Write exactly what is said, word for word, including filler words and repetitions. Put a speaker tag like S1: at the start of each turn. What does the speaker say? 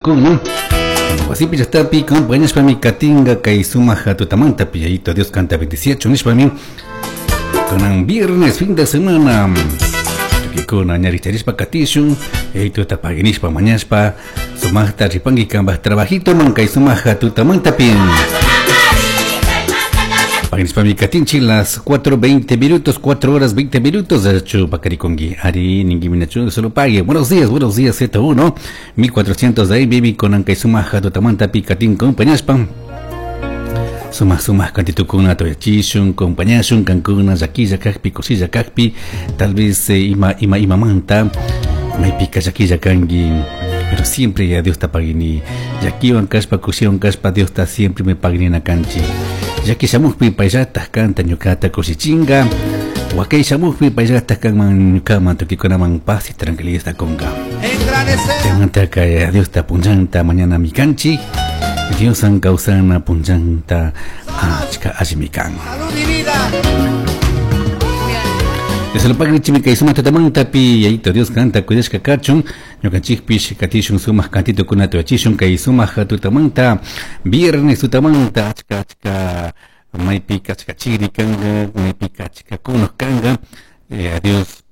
S1: tukikuna wasipi llaqtapi compañashpami katinga kay sumaq tutamantapi Yayito Dios kanta bendiciachun nishpami kunan viernes fin de semana tukikuna ñaricharishpa katishun Yayituta paginishpa mañashpa sumaqta ripanki kanpaj trabajitoman kay sumaq tutamantapi. Paginishpami katinchik las cuatro veinte minutos, cuatro horas veinte minutos de hecho pakarikongi ari ningi minachu solo pague. Buenos días, buenos días, Z uno mil cuatrocientos de ahí baby con kay sumaq tutamantapi katin compañashpa sumaq sumaq kantitukuna tuyachishun compañashun kankuna llaquilla kakpi kushilla kakpi tal vez eh, ima ima imamanta maypika llaquilla kanki, pero siempre ya Dios ta pagini. Llaquiwan kashpa kushiwan kashpa Dios ta siempre me paginina kanchik. Llaki shamukpi payllataj kanta ñukata kushichinga, wakay shamukpi payllataj kanman ñukaman tukikunaman paz y tranquilidad kunka.
S2: En gran escena.
S1: Chaymantaka Diosta punllanta mañana mikanchik Dioswan kawsana punllanta achka allimi kan.
S2: Salud y vida.
S1: Desde pagrichimi kay sumaq tutamantapi Yayito Dios kanta cuidashka kachun ñukanchikpish katishun sumaq kantitukunata yachishun kay sumaq tutamanta viernes tutamanta achka achka maypika achka chiri kanka maypika achka kunuq kanka eh, Dios